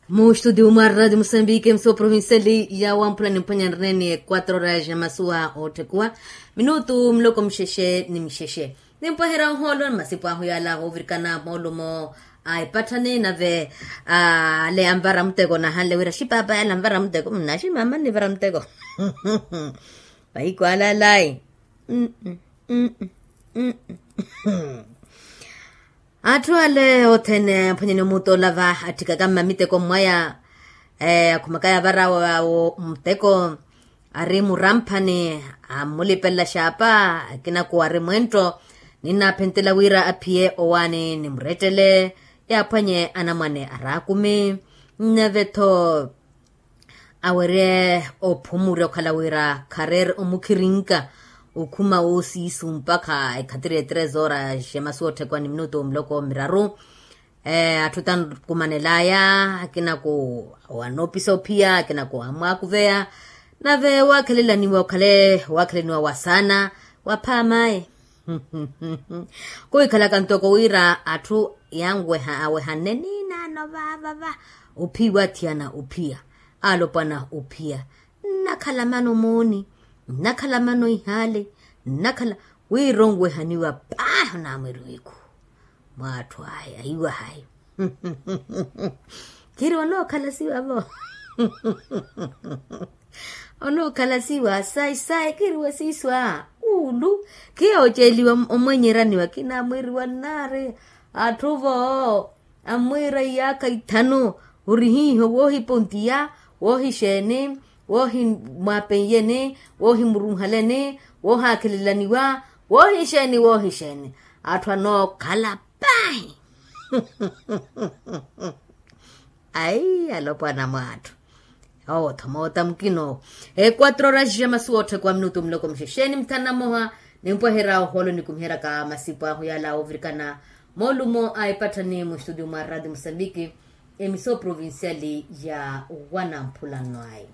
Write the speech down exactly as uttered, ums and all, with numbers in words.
Mustudio mwa radio musambiki mso provinciali ya wamphula nimphwanya nrene quatro horas ya masuwa otthekuwa minutu muloko muxexe ni muxexe. Nimpwaherya ohoolo ni masipu ahu yala ovirikana moolumo a epatthani nave ale anvara muteko nahanle wira xipapa yala anvara muteko mnaxi mama nivara muteko. Vahiku alalayi. Atthu ale othene aphwanyani omuuta olava atthikaka mmamiteko mwaya akhumakaya avara awo muteko ari muramphani ammulipelela xaapa. Akinaku ari mwentto ninnaphentela wira aphiye owaani nimurettele yaaphwanye anamwane araakumi. Nave-tho awerye ophumurya okhala wira khareere omukhirinka okhuma woosiisu mpakha ekhatiri ya tres horas ya masuwa otthekwa ni minutu muloko miraru. Atthu tankumanelaya akinaku wanoopisa ophiya akinaku amwaakuveya. Nave waakhelelaniwa okhale waakhelelaniwa wasaana waphaamayi. Kuhikhalaka ntoko wira atthu yanweha awehanne niinaano vaavava ophiwa athiyana ophiya alopwana ophiya nnakhala mano mooni nnakhala mano ihaale nnakhala wira onwehaniwa paahi onaamweriwa ekhu mwa atthu aya iwahayi. Khiri onookhala siwa vo onookhala siwa sayi sayi khiriwe siiswa uulu khiya oceeliwa omwenyeraniwa kinaamweriwa nnaari atthu vo ammwiira iyaakha ithanu ori hiiho woohipontiya woohixeeni woohimwapenyeni woohimurunhaleni woohaakhelelaniwa woohixeeni woohixeeni atthu anookhala paahi. Ayi alopwana mwa atthu owo tho moota mukina owo. Equatro horas ya masuwa otthekwa minutu muloko muxexe ni muthanu na mmoha nimpweherya ohoolo nikumiheryaka masipu ahu yala ovirikana moolumo a epatthani mustudio mwa radio musambiki emiso provinciali ya wanamphulano ayi.